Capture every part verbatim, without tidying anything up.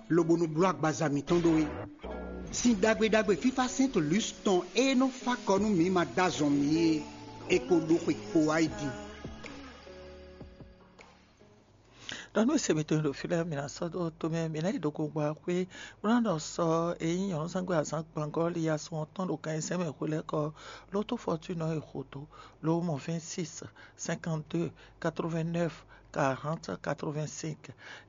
lobo nɔ bló agbaza mǐtɔn ɖó é. Sin ɖagbe ɖagbe fífá Sɛ́ntu Lus tɔn e nɔ fá kɔ nú mǐ ma dó azɔn mǐ é, è ko ɖó xwe kpo wá yi din. Ɖɔ nú se mitɔn e ɖo fí lɛ́ɛ, mǐ ná sɔ́ dó tomɛ, mǐ ná yi ɖo gongba xwé, bó ná ɖɔ sɔ e nyí nyɔ̌nuzángbe azǎn gbangɔ́ li asɔn ɔ́ tɔn ɖo gan ayizɛ́n mɛ hwelɛ́kɔ, ló tó fɔtúnɔ e xo dó, ló mɔ vɛ́nsísi, sɛ́nkanti dó, katrovɛ́n-nɛ́v, karɔ́nti, katrovɛ́n-sɛ́nk.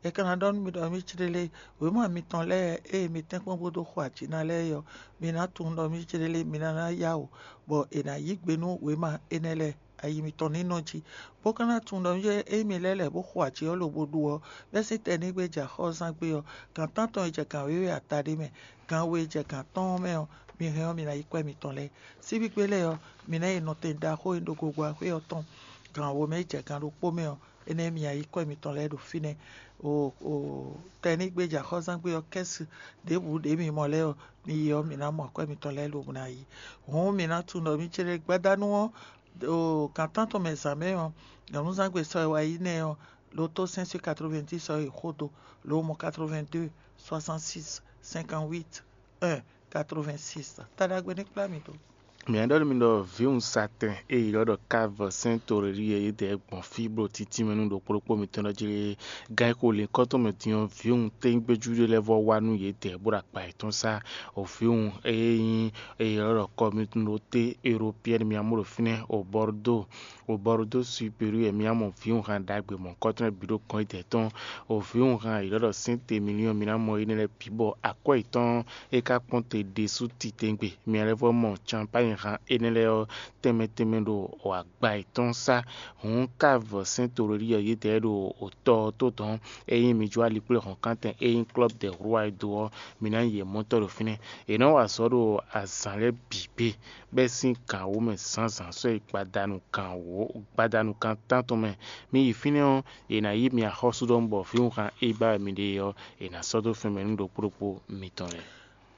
È ka ná ɖɔ nú mì ɖɔ mì cíɖélé, wěma mitɔn lɛ́ɛ e mi tɛ́nkpɔ́n bó dó xo ajǐ ná lɛ́ɛ é ɔ́, mi ná tunwun ɖɔ mì cíɖélé mi ná ná yá wǔ, bɔ è nǎ yí gbe nú wěma énɛ́ lɛ́ɛ. Ayi mitɔn ní nɔ jí, bó ka ná tunwun ɖɔ nú émí lɛ́ɛ lɛ̌ bó xo ajǐ ɔ́ lobo ɖu ɔ́, bɛ́ sín tɛnígbe jɛ axɔ́zán gbé ɔ́, gǎn tántɔn e jɛ gǎn wěwe ata ɖé mɛ, gǎn we e jɛ gǎn tɔn ɔ́ mɛ ɔ́, mi hɛn ɔ́, mi ná yí kwɛ́ mitɔn lɛ́ɛ. Síbígbé lɛ́ɛ ɔ́, mi ná yi nɔtɛn ɖaxó e ɖo gogo axwé ɔ́ tɔn, gǎn wo mɛ e jɛ gǎn ɖokpó mɛ ɔ́, énɛ́ mi ná yí kwɛ́ mitɔn lɛ́ɛ ɖo fínɛ́. O o tɛnígbe jɛ axɔ́zán gbé ɔ́ kɛ́si ɖěbǔ ɖě mi mɔ lɛ́ɛ ɔ́, mi yi ɔ́, mi ná mɔ akwɛ́ mitɔn lɛ́ɛ lobo ná yi. Hǔn mi ná tunwun ɖɔ mi céɖé gbadanu ɔ́, ɖo gǎn tántɔn mɛ zǎn mɛ ɔ́, nyɔ̌núzangbe sɔ e wá yi nɛ́ ɔ́, lo tó sɛ́n sín katrovɛ́ndín sɔ e xo dó, lo mɔ katrovɛ́ndé, soixante-six, cinquante-huit, un, quatre-vingt-six. Taɖagbe ní kplá mi dó. Mǐ ɖɔ nú mi ɖɔ vǐwun satɛn e è ylɔ́ ɖɔ Kávɔ sɛ́n Torelíɛ é dɛ̌ gbɔn fí bló títí mɛ nú ɖokpó ɖokpó mitɔn ɖɔ jí lé. Gan e xo lǐnkɔ́ tɔn mɛ din ɔ́, vǐwun tégbéjú ɖé lɛ́ɛ vɔ́ wá nú yědɛɛ bó ɖo akpa yětɔn sá. O vǐwun e nyí e è ylɔ́ ɖɔ Kɔmitúnɖóté Eropiyɛ́ni mì mɔ ɖo fínɛ́, o Bɔrdó, o Bɔrdó Superiɔ mì mɔ vǐwun han ɖagbe mɔ̌kɔ́tɔn lɛ́ɛ bǐ ɖo gɔ̌n yědɛɛ tɔn. O vǐwun han è ylɔ́ ɖɔ Sɛ́ntemiliɔ́n mì mɔ énɛ́ lɛ́ɛ bǐ bɔ akwɛ́ yětɔn é ka kpɔ́n te ɖésú titewungbe. Mì lɛ́ vɔ́ mɔ canpányi han énɛ́ lɛ́ɛ ɔ́ tɛnmɛ tɛnmɛ ɖo agba yětɔn sá. Hǔn Kávɔ sɛ́n Torelíɛ yědɛɛ ɖo tɔ ɔ́ tó dɔ̌n, é nyí mi jó alikpléhɔ̌nkántɛn e nyí Klɔ́b dɛ Hlúwa e dó ɔ́, mi ná nyi yě mɔtɔ́ ɖo fínɛ́. È nɔ́ wa azɔ̌ ɖo azǎn lɛ́ɛ bǐ gbe, bɛ́ sín gǎn wǒ mɛ zǎnzǎn sɔ́ yi gbadanu gǎn wǒ, gbadanu kan tántɔn mɛ. Mi yi fínɛ́ ɔ́, è nǎ yí mi axɔ́sú ɖɔhun bɔ vǐwunhan e ba wɛ mi ɖe é ɔ́, è nǎ sɔ́ dó fɛn mɛ nú ɖokpó ɖokpó mitɔn lɛ́ɛ.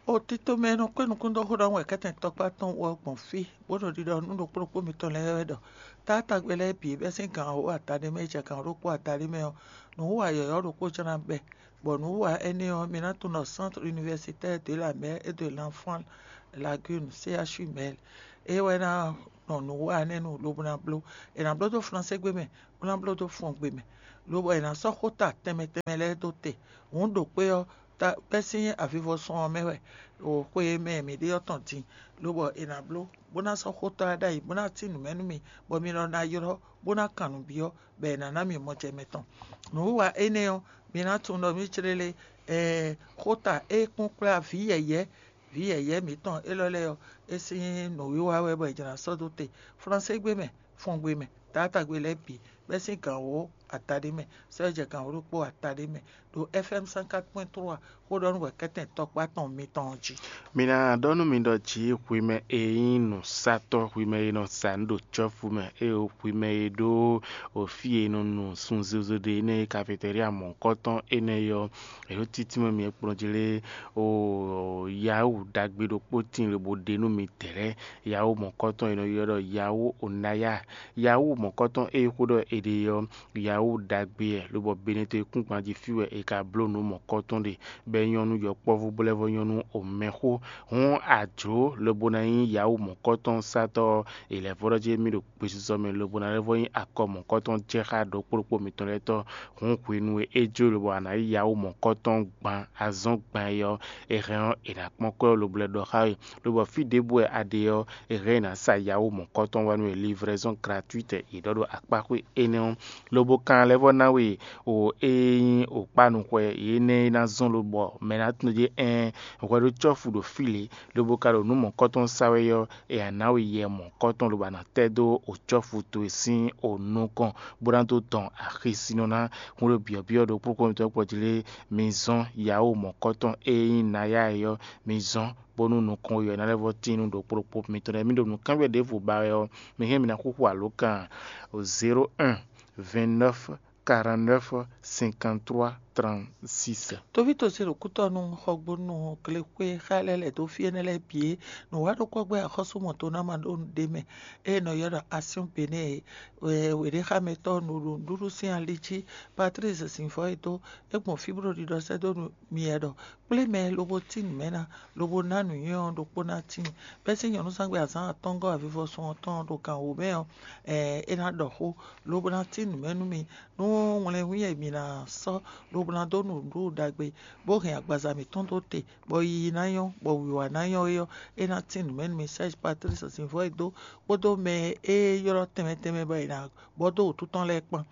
O tito mɛ e nɔ kpé nukún dó xó ɖɔhun wɛ kɛ́tɛn tɔkpá tɔn wú ɔ́ gbɔn fí, bó ɖo ɖiɖɔ nú ɖokpó ɖokpó mitɔn lɛ́ɛ wɛ ɖɔ, taátagbe lɛ́ɛ bǐ bɛ́ sín gǎn wǒ adaɖé mɛ yi jɛ gǎn ɖokpó adaɖé mɛ ɔ́, nǔwiwa yɔ̌yɔ́ ɖokpó jɛ́n ná bɛ́, bɔ nǔwiwa énɛ́ ɔ́, mi ná tunwun ɖɔ Centre Universitaire de la Mère et de l'Enfant Lagune, C H U Mel, é wɛ ná nɔ nǔwiwa énɛ́ nu lobo ná bló. È nǎ bló dó Flansé gbé mɛ, bó ná bló dó Fɔngbe mɛ, lobɔ è nǎ sɔ́ xóta tɛnmɛ tɛnmɛ lɛ́ɛ dó te. Hǔn ɖo kpé ɔ́, ta bɛ́ sín avivɔsɔn ɔ́ mɛ wɛ, ɖo xwe e mɛ mǐ ɖe ɔ́ tɔn din, lobɔ è nǎ bló, bó ná sɔ́ xóta ɔ́ ɖ'ayǐ, bó ná tín nǔ mɛ nú mi, bɔ mi lɔ ná ylɔ́, bó ná kan nǔ byɔ́, bɔ è nǎ ná mi mɔjɛmɛ tɔn. Nǔwiwa énɛ́ ɔ́, mi ná tunwun ɖɔ mǐ clé lé, ɛɛ, xóta e kún kplá vǐ yɛ̌yɛ́, vǐ yɛ̌yɛ́ mǐtɔn élɔ́ lɛ́ɛ ɔ́, é sín nǔwiwa wɛ bɔ è jlǎ sɔ́ dó te. Flansé gbé mɛ, Fɔngbe mɛ, taátagbe lɛ́ɛ bǐ, bɛ́ sín gǎnwó ataɖé mɛ, sɛ́ jɛ gǎnwó ɖokpó ataɖé mɛ, ɖo F M cent quatre point trois xó ɖɔ nú wɛ̌kɛ́tɛn tɔkpá tɔn mitɔn ɔ́ jí. Mi ná ɖɔ nú mi ɖɔ jǐ hwi mɛ e nyí nǔsatɔ́, hwi mɛ e nɔ sa nǔ ɖo cɔ́fu mɛ, ée hwi mɛ e ɖó fí e è nɔ nu sun zozo ɖe énɛ́ e kafeteria mɔ̌hunkɔtɔn énɛ́ é ɔ́, è ɖo títí mɛ mi e kplɔ́n jí lé, o Yawu ɖagbe ɖokpó tíin lobo ɖe nú mi dɛ̌ lɛ́ɛ. Yawu mɔ̌kɔtɔn e è nɔ ylɔ́ ɖɔ Yawu Onaya. Yawu mɔ̌kɔtɔn e xó ɖɔ è ɖe ɔ́, Yawu ɖagbe wɛ, lobɔ Benɛto e kún gban jí fí wɛ è ka bló nǔ mɔ̌kɔtɔn ɖe, bɔ é nyɔ́ nú yɔkpɔ́vú bó lɛ́ vɔ́ nyɔ́ nú omɛxó. Hǔn a jlǒ lobo ná nyí Yawu mɔ̌kɔtɔn satɔ́ ɔ́, è lɛ̌ vɔ́ ɖɔ jí émí ɖo gbesisɔ mɛ lobo ná lɛ́ vɔ́ nyí akɔ mɔ̌kɔtɔn jɛ xá ɖokpó ɖokpó mitɔn lɛ́ɛ tɔn. Hǔn hwenu e é jó lobo a nǎ yí Yawu mɔ̌kɔtɔn gban azɔn gban é ɔ́, è hɛn ɔ́, è nǎ kpɔ́n kwɛ́ ɔ́ lobo lɛ́ ɖɔ xá we. Lobɔ fí ɖěbǔ wɛ a ɖe ɔ́, è hɛn ɔ́ è nǎ sa Yawu mɔ̌kɔtɔn wá nú we, livraison gratuite è ɖɔ ɖo akpáxwé énɛ́ ɔ́, lobo kan lɛ́ vɔ́ ná we o e nyí o kpánuxwɛ énɛ́ e ná zɔ́n lobɔ mɛ ná tunwun jí ɛɛn hwɛ ɖó cɔ́fu ɖo fí lě, lobo ka ɖo nǔ mɔ̌kɔtɔn sa wɛ ɔ́, è nǎ ná we yɛ mɔ̌kɔtɔn lobo a nǎ tɛ́ dó o cɔ́fu towe sín o nukɔn, bó ná dó dɔn axisínɔ ná. Hun ɖo byɔ̌byɔ́ ɖokpó kpɔ́n mitɔn kpɔ́ jí lé, mi zɔ́n Yawu mɔ̌kɔtɔn e nyí Naya é ɔ́, mi zɔ́n bónú nukɔn we ɔ́ ná lɛ́ vɔ́ tín nú ɖokpó ɖokpó mitɔn lɛ́ɛ. Mi ɖo nǔkanbyɔ́ ɖěvo ba wɛ ɔ́, mi hɛn mi ná xúxú alǒkan zéro un vingt-neuf quarante-neuf cinquante-trois trente-six. Tovítɔ́ ce ɖo kútɔ́nú xɔgbónú glexwé xá lɛ́ɛ lɛ̌ dó fí énɛ́ lɛ́ɛ bǐ é, nǔ wa ɖokpɔ́ gbɛ́ axɔ́súmɔtɔ́ ná ma ɖó nǔɖé mɛ, ée è nɔ ylɔ́ ɖɔ Asyɔ́n Benɛ́ɛ é. Wěɖéxámɛtɔ́ nǔɖuɖu sín ali jí, Patlísi Zǐnvɔ́ e dó, é gbɔn fí bó ɖo ɖiɖɔ sɛ́ dó nú myɛ ɖɔ: Kplé mɛ lobo tín nǔ mɛ ná, lobo ná nǔnywɛ́ ɔ́ ɖokpó ná tíin. Bɛ́ sín nyɔ̌nuzángbe azǎn atɔ́ɔ́ngɔ́ avivɔsun ɔ́ tɔn ɖo gan wǒ mɛ ɔ́, ɛɛ é ná ɖɔ xó, lobo ná tín nǔ mɛ nú mi, nú wlɛnhún e mi ná sɔ́, lobo ná dó nǔɖuɖu ɖagbe, bó hɛn agbaza mǐtɔn dó te, bɔ yiyi ná nyɔ́, bɔ wǐwá ná nyɔ́ é ɔ́, é ná tín nǔ mɛ nú mi. Sɛ́zi Patlísi Zǐnvɔ́ e dó kpódó mɛ e ylɔ́ tɛnmɛ tɛnmɛ bɔ è nǎ bɔ dó wǔtu tɔn lɛ́ɛ kpán.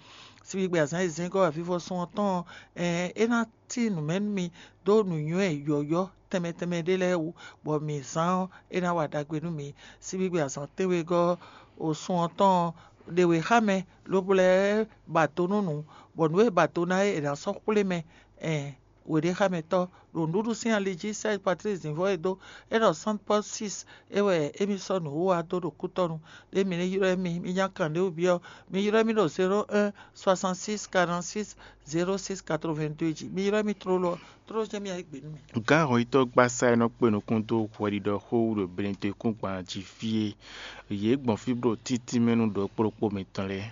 Síbígbe azǎn e zɛ́n gɔ́ avivɔsun ɔ́ tɔn ɔ́, ɛɛ é ná tín nǔ mɛ nú mi dó nǔnywɛ́ yɔ̌yɔ́ tɛnmɛ tɛnmɛ ɖé lɛ́ɛ wú, bɔ mǐ zán ɔ́, é ná wa ɖagbe nú mi. Síbígbe azǎn tɛ́nwegɔ́ osun ɔ́ tɔn ɔ́, ɖe wě xá mɛ, lobo lɛ́ ba do nú nǔ, bɔ nǔ e ba do ná é è nǎ sɔ́ xwlé mɛ. Ɛɛ wěɖéxámɛtɔ́ ɖo nǔɖuɖu sín ali jí, Sɛ́zi Patlísi Zǐnvɔ́ e dó é ɖɔ Sánti Pɔ́lu sis é wɛ émí sɔ́ nǔwiwa dó ɖo kútɔ́nu. Ɖé mi ní ylɔ́ mì, mi nya kan ɖě wú byɔ́, mi ylɔ́ mì ɖo zéro un soixante six quarante six zéro six quatre vingt deux jí. Mi ylɔ́ mì tlóló ɔ́, tlóló jɛ́n mì ayǐ gbe nú mi. Gǎnhɔnyitɔ́ gbasá e nɔ kpe nukún dó hwɛɖiɖɔ xó wú ɖo Benedekúngban jí fí é, yě gbɔn fí bó ɖo títínmɛ nú ɖɔ kplɔ́kpó mitɔn lɛ́ɛ.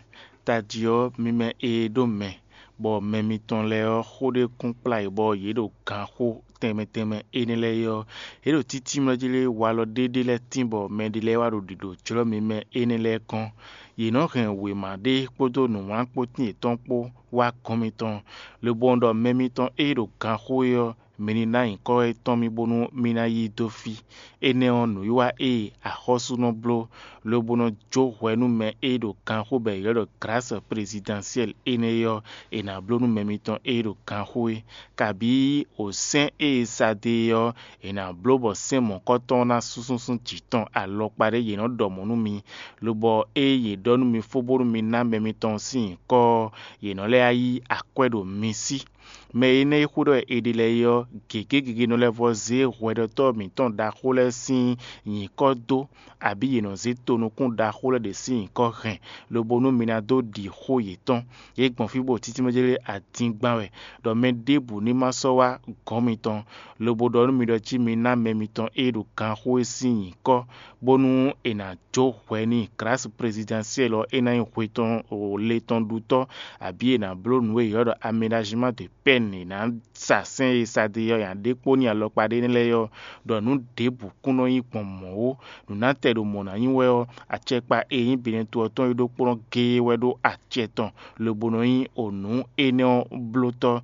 Tají ɔ́, mi mɛ e ɖó mɛ, bɔ mɛ mitɔn lɛ́ɛ ɔ́, xó ɖé kún kplá yě bɔ yě ɖo ganxó tɛnmɛ tɛnmɛ énɛ́ lɛ́ɛ é ɔ́, yě ɖo títínmɛ jí lé walɔ ɖéɖé lɛ́ɛ tín bɔ mɛɖé lɛ́ɛ wá ɖo ɖiɖo jlɔ́ mi mɛ énɛ́ lɛ́ɛ kɔn. Yě nɔ hɛn wěma ɖé kpódó nǔwlánkpótín yětɔn kpó wá gɔ́n mitɔn, lobo ɖɔ mɛ mitɔn e ɖo ganxó é ɔ́, mi ní ná nyǐkɔ étɔn mì bónú mì ná yí dó fí. Énɛ́ ɔ́, nǔwiwa e axɔ́sú nɔ bló, lobo nɔ jó hwɛ nú mɛ e ɖo ganxó bɔ è ylɔ́ ɖɔ Glǎsi Plezidansyɛ́li énɛ́ é ɔ́, è nǎ bló nú mɛ mitɔn e ɖo ganxó é. Kabǐ wǒsɛ́n e è sa dó e ɔ́, è nǎ bló bɔ sɛ́n mɔ̌kɔ́tɔn ɔ́ ná sú súnsún jǐ tɔn alɔkpa ɖé yě nɔ ɖɔ mɔ̌ nú mi, lobɔ ée yě ɖɔ nú mi fó bónú mi ná mɛ mitɔn sín nyǐkɔ ɔ́, yě nɔ lɛ́ yí akwɛ́ ɖo mi sí. Mɛ énɛ́ e xwé ɖɔ è ɖe lɛ́ɛ é ɔ́, gěgé gěgé nɔ lɛ́ vɔ́ zé hwɛɖɔtɔ́ mǐtɔn ɖaxó lɛ́ɛ sín nyǐkɔ dó, abǐ yě nɔ zé tonukún ɖaxó lɛ́ɛ ɖě sín nyǐkɔ hɛn, lobo nú mi ná dó ɖi xó yětɔn. Yě gbɔn fí bó títí mɛ jlé adingban wɛ, ɖɔ mɛ ɖěbǔ ní ma sɔ́ wá gɔ̌n mitɔn, lobo ɖɔ nú mi ɖɔ jí mi ná mɛ mitɔn e ɖo ganxó é sín nyǐkɔ, bónú è nǎ jó hwɛ n'i. Glǎsi Plezidansyɛ́li ɔ́, é ná nyí hwe tɔn le tɔn ɖutɔ́, abǐ è nǎ bló nǔ e è ylɔ́ ɖɔ aménajima de pɛ́n è nǎ sa sɛ́n e sa dó ɔ́ nyi aɖékpónɔ alɔkpa ɖé lɛ́ɛ ɔ́, ɖɔ nǔ ɖěbǔ kún nɔ nyí gbɔn mɔ̌ ó. Nǔnátɛ́ ɖo mɔ̌ ná nyí wɛ ɔ́, acɛkpa e nyí Benɛto ɔ́ tɔn é ɖokpónɔ géé wɛ ɖó acɛ tɔn, lobo nɔ nyí o nǔ énɛ́ ɔ́ blótɔ́.